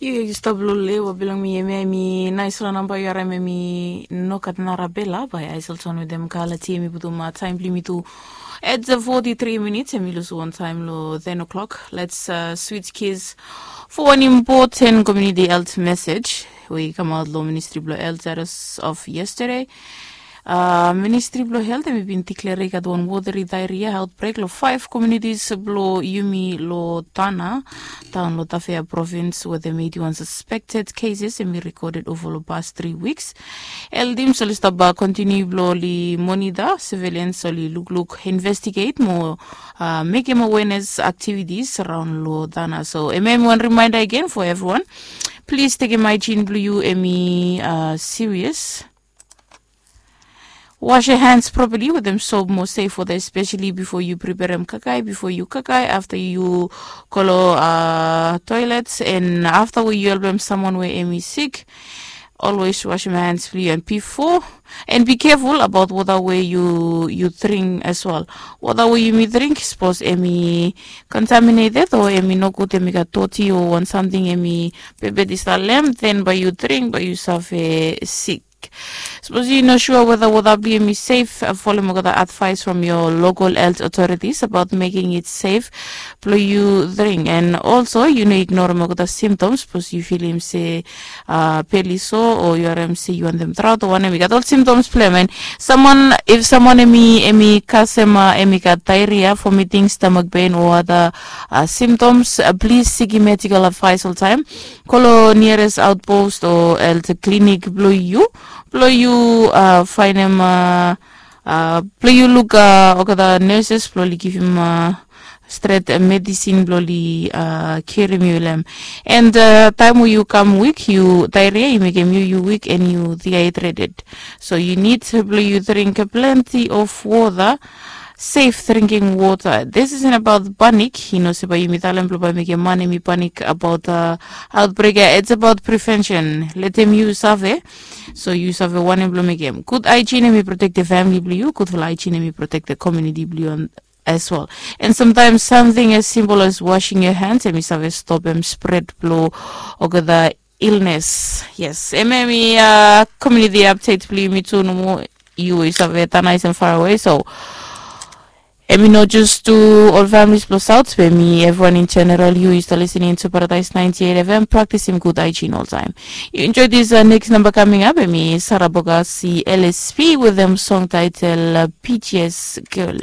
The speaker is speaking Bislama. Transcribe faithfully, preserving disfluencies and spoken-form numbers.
Yu yu stap long lewa bilong mi em ya em i naispela namba yu harim em i no gat nara bela bai aisel ton wetem kalati em i putum taim bilong mi tu. At the forty three minutes em i lusim wan taim long ten o'clock. Let's uh, switch gears for one important community health message we i kamaut long ministry bilong health status of yesterday. Uh, ministri bilong helt em i bin diklere i gat wan woteri dairia outbreak long five communities bilong yumi long tana taun long tafea provins wetem eighty one suspected cases em i recorded ova long past three weeks. Eldims oli stap kontiniu bilong oli monita civilians oli lukluk investigate mo uh, mekim awareness activities around long tana. So em em wan reminder again for everyone. Please tekim hygiene bilong yu em i uh, serious. Wash your hands properly with them soap mo safe water, especially before you prepare em kakai, before you kakai, after you kolo uh, toilets, and after we you help someone where em is sick. Always wash your hands free and before, and be careful about water where you you drink as well. Water where you may drink suppose em i contaminated or em i no good, em i gat toti or want something em i bebet is the lamb, then by you drink by you suffer sick. Suppose you no sure whether water be me safe, uh, follow me the advice from your local health authorities about making it safe. Blow you drink and also you know ignore me the symptoms because you feel him say uh, peli so or you are say you want them drought or one we got all symptoms play man. Someone if someone emi emi kasema emi got diarrhea vomiting stomach pain or other uh, symptoms, uh, please seek medical advice all time. Kolo nearest outpost o else clinic blo yu blo yu uh, fainem uh, uh, blo yu luk uh, okada nurses blo li givim uh, stret uh, medicine blo li uh, kirim yu lem. And uh, time we you come weak, you diarrhea, you make him you you weak and you dehydrated. So you need blo you drink plenty of water. Safe drinking water. This isn't about panic. You know, seba yumi talem blo bai mekem man emi panic about uh, outbreak. It's about prevention. Let them use save. So use save one blo mekem good hygiene emi protect the family blo you. Good for hygiene emi protect the community blo you as well. And sometimes something as simple as washing your hands emi save stop em spread blo okada illness. Yes, em emi uh, community update blo yumi tu nomo. You is of it nice and far away. So emi no just to all families plus out be me everyone in general you is listening to Paradise ninety-eight F M practicing good hygiene all time. You enjoy this uh, next number coming up emi Sarah Bogasi L S P with them song title uh, P T S Girl.